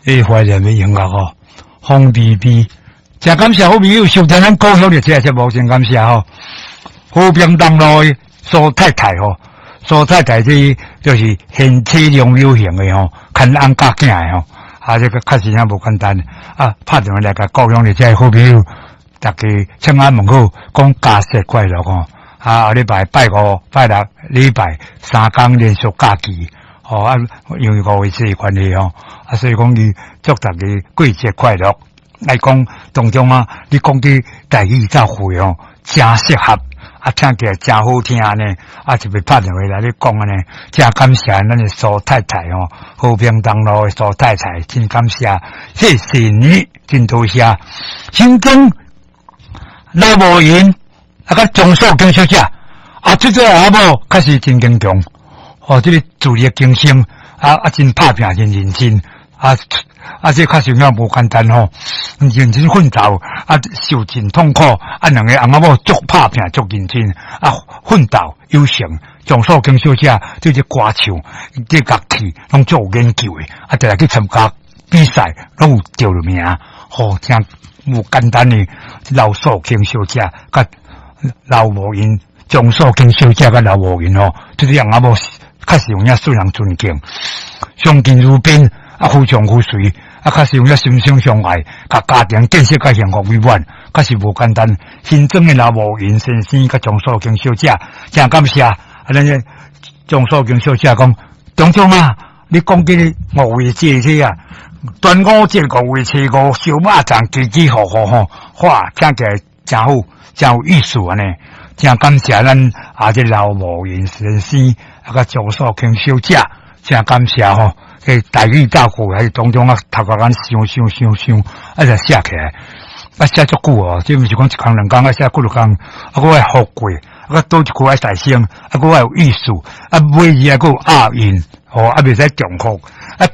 這懷念的音樂吼，風微微，誠感謝好朋友收聽咱故鄉的這個節目，真感謝吼。和平東路的蘇太太吼，蘇太太這就是賢妻良母型的吼，牽翁教囝的吼，啊，這個確實也無簡單啊。拍電話來共故鄉的這個好朋友，大家請安問好，講佳節快樂吼。啊，後禮拜拜五、拜六、禮拜三工連續假期，吼啊，因為五月節的關係吼，啊，所以講伊祝大家過節快樂。來講當中啊，你講的台語教會吼，誠適合，啊，聽起來誠好聽呢。啊，特別拍電話來咧講按呢，誠感謝咱的蘇太太吼，和平東路的蘇太太，真感謝，謝謝你，真多謝。新莊老無閒。啊，佮鍾素金小姐，啊，這個阿某確實真堅強，哦，這個自力更生，啊啊，真拍拚，真認真，啊啊，這確實有影無簡單吼，認真奮鬥，啊，受盡痛苦，啊，兩個翁仔某足拍拚，足認真，啊，奮鬥有成。鍾素金小姐對這歌唱、這樂器攏足有研究的，啊，定定去參加比賽，攏有得名，吼，誠無簡單的劉素金小姐，佮劉無閒、鍾素金小姐佮劉無閒吼，這個翁仔某確實有影受人尊敬，相敬如賓，啊，夫唱婦隨，啊，確實有影心心相愛，共家庭建設較幸福美滿，確實無簡單。新莊的劉無閒先生佮鍾素金小姐，誠感謝。啊，咱這鍾素金小姐講，中中啊，你講這個五月節這啊，端午節五月初五，燒肉粽，起起伏伏吼，哇，聽起來誠好，誠有意思按呢，誠感謝咱啊，這劉無閒先生啊，佮鍾素金小姐，誠感謝吼。這台語教課還是當中啊，頭殼咱想想想想，啊，就寫起來，啊，寫足久哦，這毋是講一工兩工，啊，寫幾落工，啊，閣愛復過，啊，閣倒一句愛大聲，啊，閣愛有意思，啊，尾字還閣有押韻，吼，啊，袂使重複，啊，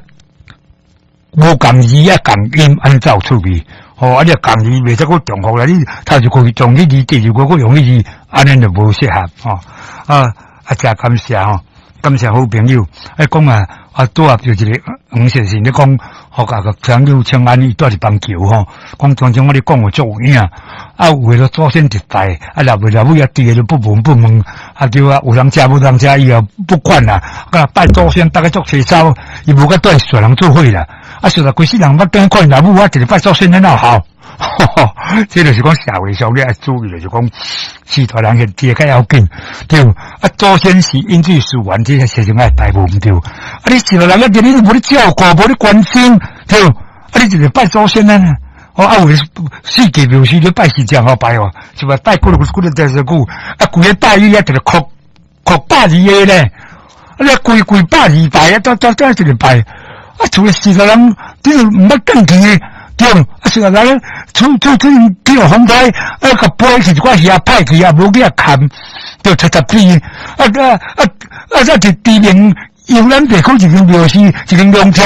無仝字啊，仝音，按呢才有趣味，吼，啊，你仝字袂使閣重複啦，你頭一句用彼字，第二句閣用彼字，按呢就無適合，吼，啊，啊，誠感謝吼，感謝好朋友，啊，講啊。啊，拄啊，就一個黃先生咧講，予共個朋友請安，伊住佇板橋吼，講當中我咧講話足有影，啊，有的祖先一拜，啊，若袂若尾啊，佇個都不聞不問，啊對啊，有人食無人食，伊也不管啦，啊，拜祖先，逐家足齊走，伊無佮蹛小人做伙啦，啊，實在規世人捌轉看老母，我一個拜祖先，哪有效？這就是講社會上你愛注意，就是講序大人現這較要緊，對。啊，祖先是飲水思源，這個事情愛拜無毋對。啊，你序大人啊，你無咧照顧，無咧關心，對。啊，你一個拜祖先呢？哦，啊，有四季廟時咧拜是誠好拜哦，是吧？拜幾落幾落電視久，啊，規个拜伊啊，一個哭哭百二個咧，啊，你規規百二拜啊，都都都一個拜，啊，除了序大人，你都毋捌轉去。對，啊，序大人厝厝厝去予風颱，啊，共飛去一寡魚歹去啊，無去遐崁，就七十邊，啊啊啊啊！這佇知名遊覽地區一間廟宇，一間龍舟，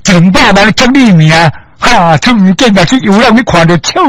一兩百萬出你名，哈，出面見來去遊覽，你看著笑。